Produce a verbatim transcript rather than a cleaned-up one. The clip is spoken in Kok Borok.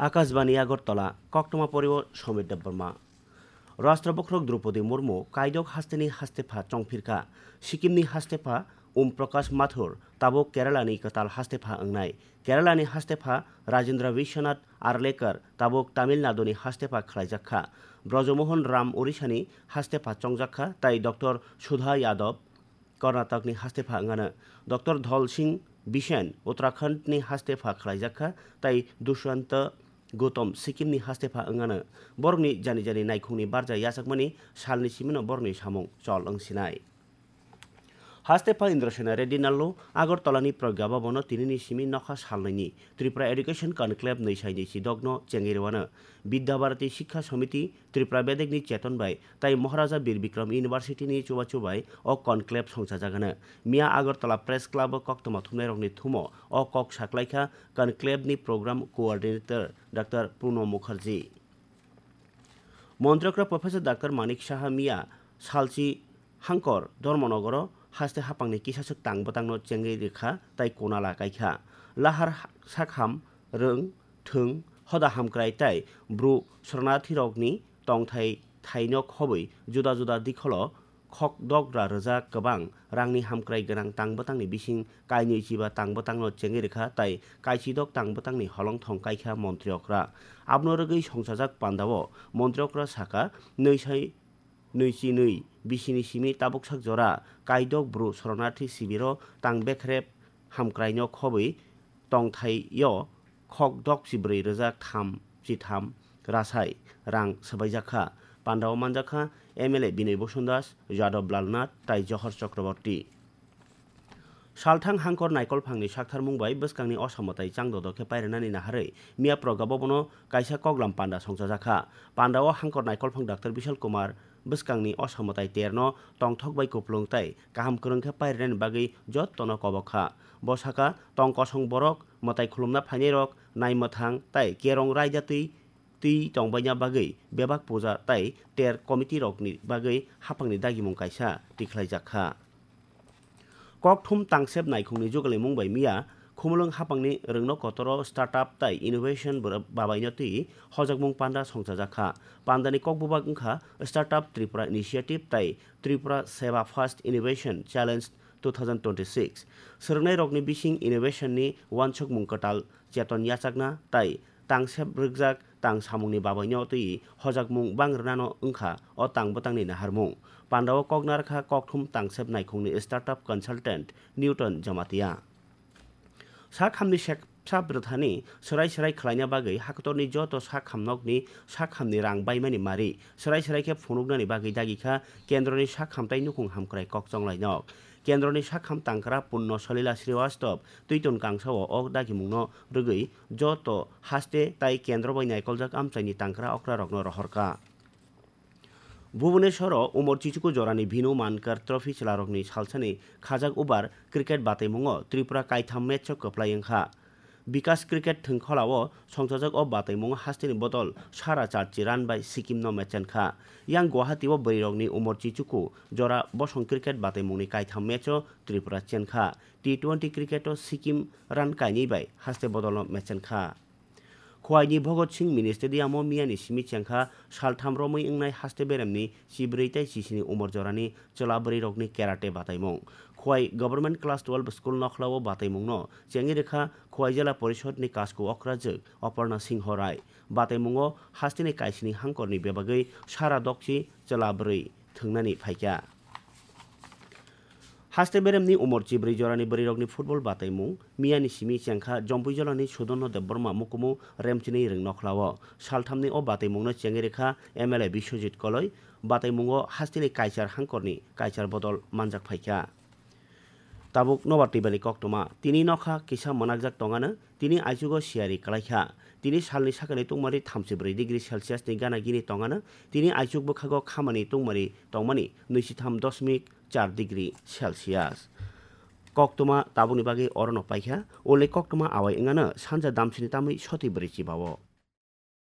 Akashbani Agartala, koktwma porio Somir Debbarma. Rashtra bokhorok Droupadi Murmu kaidok hasteni hastepha chongphirkha. Sikimni hastepha Om Prakash Mathur tabuk Keralani kwtal hastepha wngnai. Keralani hastepha Rajendra Vishwanath Arlekar tabuk Tamil Naduni hastepha khlaijakha. Brajamohan Ram Orishani hastepha chongjakha, tai Doctor Sudha Yadav Karnatakni hastepha wngano. Doctor Dhol Singh Bisen Uttarakhandni hastepha khlaijakha, tai Dushwanta Gautam Sikimni hastepha wngano. Borokni jani jani naikhungni barja yachakmani salni simino borokni samung chol wngsinai. Hastepha Indrasena Reddy Nallu Agartalani Pragya Bhabono tinini simi nokha salnaini Tripura Education Conclave nwi sai nwi si dogno chengwi rwano. Vidya Bharati Sikha Samiti, Tripura Bedekni Cheton bai tai Maharaja Bir Bikram University ni chubachu bai o conclave songchajagano. Miya Agartala Press Club o koktwma thumnairokni thumo o kok saklaikha conclave ni program coordinator Doctor Pranab Mukherjee. Montrokra Professor Doctor Manik Saha miya salchi Hangkor Dharmanagaro haste hapangni kisaswk tang bwtangno chengwi rwkha tai kunala kaikha. Lahar sakham rwng thwng hoda hamkrai tai bru shoranathirokni tongthai thaino khobwi juda juda dikholo khokdogra rwjak kwbang rangni hamkrai gwnang tang bwtangni bising kainwi chiba tang bwtangno chengwi rwkha tai kaichidok tang bwtangni holongthong kaikha montri okra. Abono rwgwi songchajak pandao montri okra saka, nwi sai nwi chi nwi bisini simi tabuksak jora kaidok bru shoranathi sibiro tang bekrep hamkraino khobwi tongthaio khokdok chibrwi rwjak tham chitham rasai rang swbaijakha. Pandao manjakha M L A Binoy Boson Das, Yadav Lalnath tai Johor Chakraborty. Salthang Hangkor naikolphangni saktharmung bai bwskangni osamotai changdodo khe pairinani naharwi miya Pragya Bhabono kaisa koklam panda songchajakha. Pandao Hangkor naikolphang Doctor Bishal Kumar bwskangni osamotai terno tongthok bai kupulung tai kaham kwrwng khe pairinani bagwi jottono kobok kha. Bo saka, tong kosong borok, mwtai khulumna phainairok, naimwthang tai kerong raida twi twi tongbaina bagwi bebak puja tai ter committee rokni bagwi hapangni dagimung kaisa tikhlaijak kha. Kokthum tangsep naikhungni jugalimung bai miya Khumulwng hapangni rwngno kotoro startup tai innovation bwrw-, babaino twi hojakmung panda songchajak kha. Pandani kokbubak wngkha Startup Tripura Initiative tai Tripura Seva First Innovation Challenge two thousand twenty-six. Swrwngnairokni bising innovation ni uansukmung kwtal cheton yachakna tai tangsep rwkjak tang samungni babaino twi hojakmung bang rwnano wngkha o tang bwtangni naharmung. Pandao kok narwkha kokthum tangsep naikhungni startup consultant Newton Jamatia. Sak hamni seksa bwthani swrai swrai khlaina bagwi hakotorni joto sak hamnokni sak hamni rang baimani mari swrai swrai khe phunuknani bagwi dagi kha kendroni sak hamtai nukhung hamkrai kok chonglai nok. Kendroni sak ham tangkra Punno Salila Srivastava twiton kangsao o dagimungno rwgwi joto haste tai kendro bai naikoljak amchaini tangkra okrarokno rohorkha. Bhubaneswaro Umor Chichuku jorani Bhinu Mankar Trophy chwlarokni salsani khajak over cricket bataimungo Tripura kaitham match-o kwplai wngkha. Bikas Cricket Thwngkholao songchajak o bataimungo hasteni bodol sara charchi run bai Sikkim-no mechenkha. Yang Guwahati-o bwrwirokni Umor Chichuku jora bosong cricket bataimungni kaitham match-o Tripura chenkha. T twenty cricket-o Sikkim run kainwi bai haste bodolno mechenkha. Khwaini Bhagat Singh Mini Stadium-o miyani simi chengkha saltham romwi wngnai haste beremni chibrwi tei chisini umor jorani chwla bwrwirokni karate bataimung. Khwai Government Class twelve School Nokhlao bataimungno chengwi rwkha Khwai Jela Porishod ni Kasku Okrajwk Aparna Singho Rai. Bataimungo hasteni kaisini hangkorni bebagwi sara dokchi chwla bwrwi thwngnani phaikha. Haste beremni umor chibrwi jorani bwrwirokni football bataimung miyani simi chengkha Jompuijolani Sudonno Debbarma mukumu remchinwi rwng nokhlao. Salthamni o bataimungno chengwi rwkha M L A Biswajit Koloi. Bataimungo hasteni kaichar hangkorni kaichar bodol manjak phaikha. Tabuk nobar twibani koktwma. Tini nokha kisa mwnakjak tongano, tini aichugo siyari kwlaikha. Tini salni sakani tungmari thamchi brwi degree Celsius ni gana gini tongano, tini aichuk bwkhago khamani tungmari tongmani nwichi tham dosmik char degree Celsius. Koktwma tabukni bagwi orono paikha, ule koktwma awai wngano sanja damsini tamwi soti brwi chibao.